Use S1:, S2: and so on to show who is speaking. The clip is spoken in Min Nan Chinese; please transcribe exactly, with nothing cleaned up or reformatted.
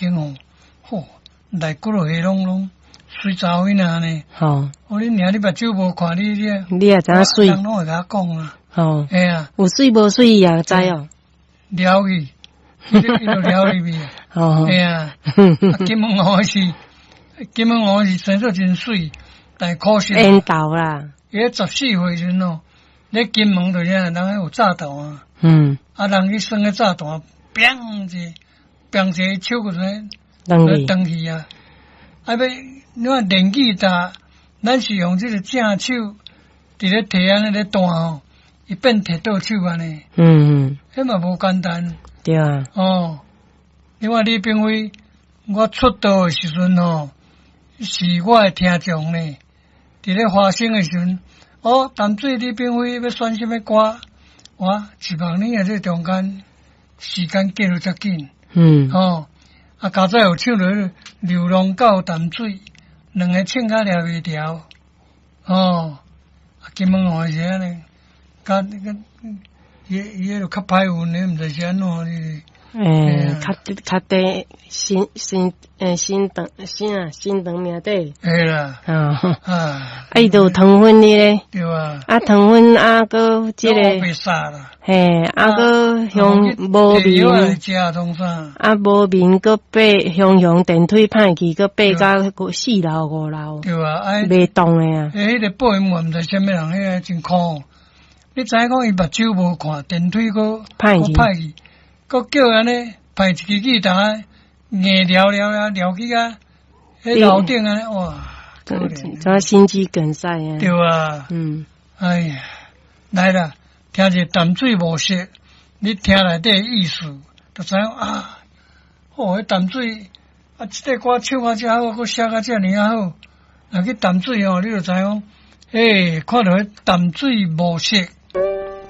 S1: 間吼，吼，內骨落下攏攏媠查某囡仔呢。
S2: 吼，
S1: 哦，你娘你目睭無看你你，
S2: 你也知影媠，
S1: 人攏會共我講啊。
S2: 吼，
S1: 嘿啊，
S2: 有媠無媠伊也知哦。
S1: 撩去，伊就伊就撩入去。
S2: 吼，
S1: 嘿啊，金門鷗是金門鷗是生做真媠，但可惜。
S2: 緣投啦。
S1: 伊十四歲時陣哦，咧金門就是人有炸彈啊。
S2: 嗯。
S1: 啊，人去耍彼炸彈，砰一，砰一個手個陣，斷去啊！啊欲，你看電吉他，咱是用這個正手佇咧提按呢咧彈吼，伊變提倒手按呢。
S2: 嗯嗯。
S1: 彼嘛無簡單。
S2: 對啊。
S1: 哦，另外李炳輝，我出道的時陣吼，是我的聽眾呢，佇咧華星的時陣，哦，淡水李炳輝欲選啥物歌，哇，一萬年的這中間時間過得遮緊。
S2: 嗯。
S1: 哦，啊，佳哉有唱著流浪到淡水，兩个唱甲掠袂牢。哦，啊，金門鷗是按呢，較那個伊伊彼個較歹運的，毋知是按怎哩。
S2: 欸，較較短新新欸新長啥新長命短。
S1: 會啦。
S2: 啊。
S1: 啊。
S2: 啊，伊就有糖粉的咧。
S1: 對啊。
S2: 啊，糖粉啊，閣這个。
S1: 白沙啦。
S2: 嘿，啊，閣香無眠。啊，無眠閣爬雄雄電梯歹去，閣爬到四樓五樓。
S1: 對啊，
S2: 袂動的啊。
S1: 欸，彼个播音員毋知啥物人，彼个真苦。你知影講伊目睭無看，電梯閣
S2: 歹去，
S1: 歹去，閣叫按呢排一支吉他，硬撩撩啊，撩去啊，彼樓頂按呢，哇！
S2: 怎怎心肌梗塞啊？
S1: 對啊，
S2: 嗯，
S1: 哎呀，來啦，聽者淡水暮色，你聽內底意思，就知影啊，哦，彼淡水啊，這个歌唱啊遮好，閣寫甲遮爾啊好，若去淡水哦，你就知影，欸，看著彼淡水暮色。